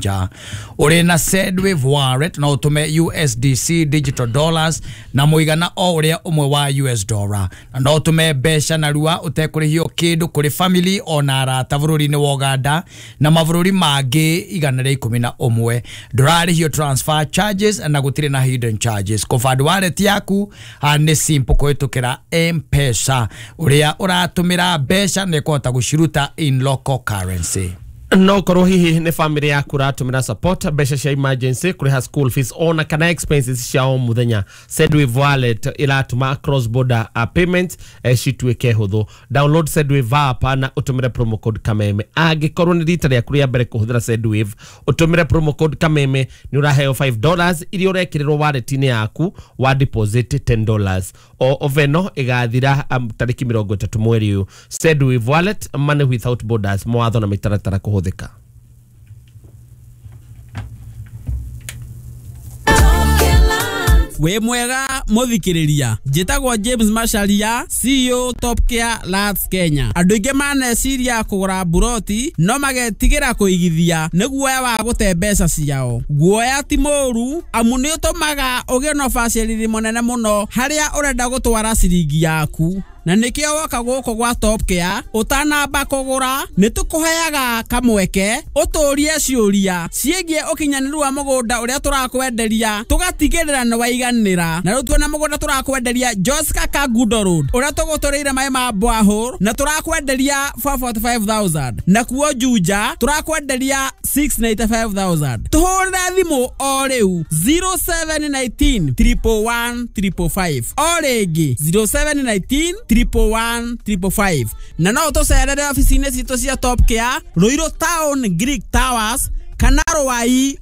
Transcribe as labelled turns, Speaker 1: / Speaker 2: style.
Speaker 1: nja. Ũrĩ na Sendwave wallet no ũtũme USDC digital dollars na mũigana o ũrĩa ũmwe wa US dollar, na no ũtũme mbeca narua ũtekũrĩhio kĩndũ kũrĩ family ona arata bũrũri-inĩ wa Uganda na mabũrũri mangĩ 111. Ndũrarĩhio transfer charges na gũtirĩ na hidden charges. Kũband wallet yaku nĩ simple kũhĩtũkĩra M-Pesa. Ũrĩa ũratũmĩra mbeca nĩ kũhota gũciruta in local currency.
Speaker 2: No korwo hihi nĩ family yaku ũratũmĩra support mbeca cia emergency, kũrĩha school fees ona kana expenses cia o mũthenya, Sendwave wallet ĩratũma cross border payments cituĩke hũthũ. Download Sendwave app na ũtũmĩre promo code Kameme. Angĩkorwo nĩ rita rĩaku rĩa mbere kũhũthĩra Sendwave, ũtũmĩre promo code Kameme nĩ ũraheo $5 iria ũrekĩrĩrwo wallet-inĩ yaku wa deposit $10. O oveno ĩgathira tarĩki 30 mweri ũyũ. Sendwave wallet, money without borders. Mawatho na mĩtaratara kũhũthĩka.
Speaker 3: Wĩ mwega mũthikĩrĩria, njĩtagwo James Macharia, CEO Top Care Lands Kenya. Andũ aingĩ maneciria kũgũra mburoti no magetigĩra kũigithia nĩ guoya wa gũte mbeca ciao. Guoya ti mũũru amu nĩ ũtũmaga ũgĩe na ũbacĩrĩri mũnene mũno harĩa ũrenda gũtwara ciringi yaku, na nĩkĩo woka gũkũ gwa Top Care ũtanamba kũgũra nĩ tũkũheaga kamweke ũtũrie ciũria ciĩgiĩ ũkinyanĩru wa mũgũnda ũrĩa tũrakwenderia, tũgatigĩrĩra nĩ waiganĩra. Na rĩu tuona mũgũnda tũrakwenderia Joska Kangundo Road ũrĩa tũgũtũrĩire maĩ ma borehole na tũrakwenderia 445,000, nakuo Juja tũrakwenderia 695,000. Tũhũrĩre thimũ o rĩu 0719 111 555, o rĩngĩ 0719 111 555, na no ũtũcerere obici-inĩ citũ cia Top Care, Ruiru Town, Greek Towers kana Ruai.